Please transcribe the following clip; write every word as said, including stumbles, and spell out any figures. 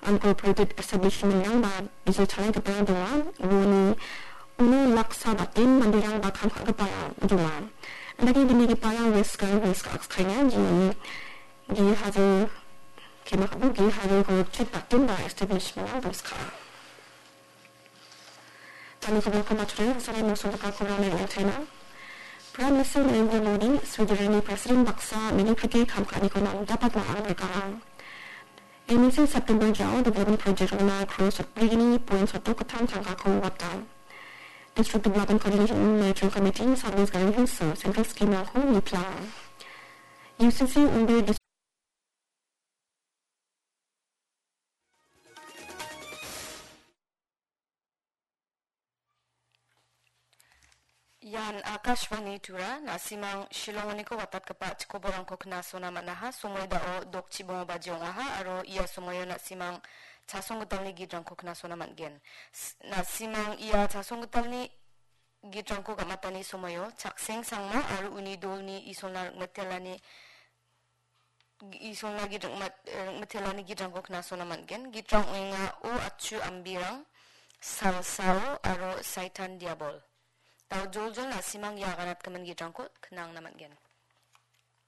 Incorporated establishment-rangba bijil chalaigipa donga. Uoni uno laksa baten manderangba kam ka·giparang donga. Andake gimigiparang West Garo Hills ka·akskaenga, jeoni gi hajar, kema ka·bo, gi hajar gorokchit batenba establishment-rang dongska. Tangni kobilko matchotna sarai mosonggipa kobilni rangchena. Prime Minister Narendra Modi, Switzerland-ni President baksa meliprike kam ka·aniko namdapatna ang·rikang. M E C September jao development project-rangna crore sotbrigni point sotdok gittam tangkako wata. District Development Coordination Monitoring Committee, South West Garo Hills-o central scheme-rangko niplang. U C C Ungbe Ian Akashvani Tura, na·simang Shillongoniko watatgipa chikoborangko knasona man·aha. Somoi dao dokchibongo baji ong·aha aro ia somoio na·simang chasonggitalni gitrangko knasona man·gen. S-, na·simang ia chasonggitalni gitrangko gam·atani somoio Chakseng Sangma aro uni dolni Isolna ringmitelani Isolna git ringmit-, ringmitelani gitrangko knasona man·gen. Gitrang ong·enga O Achu Ambirang, Salsao aro Saitan Diabol. Dao joljol na·simang ia aganatgimin gitrangko knangna man·gen.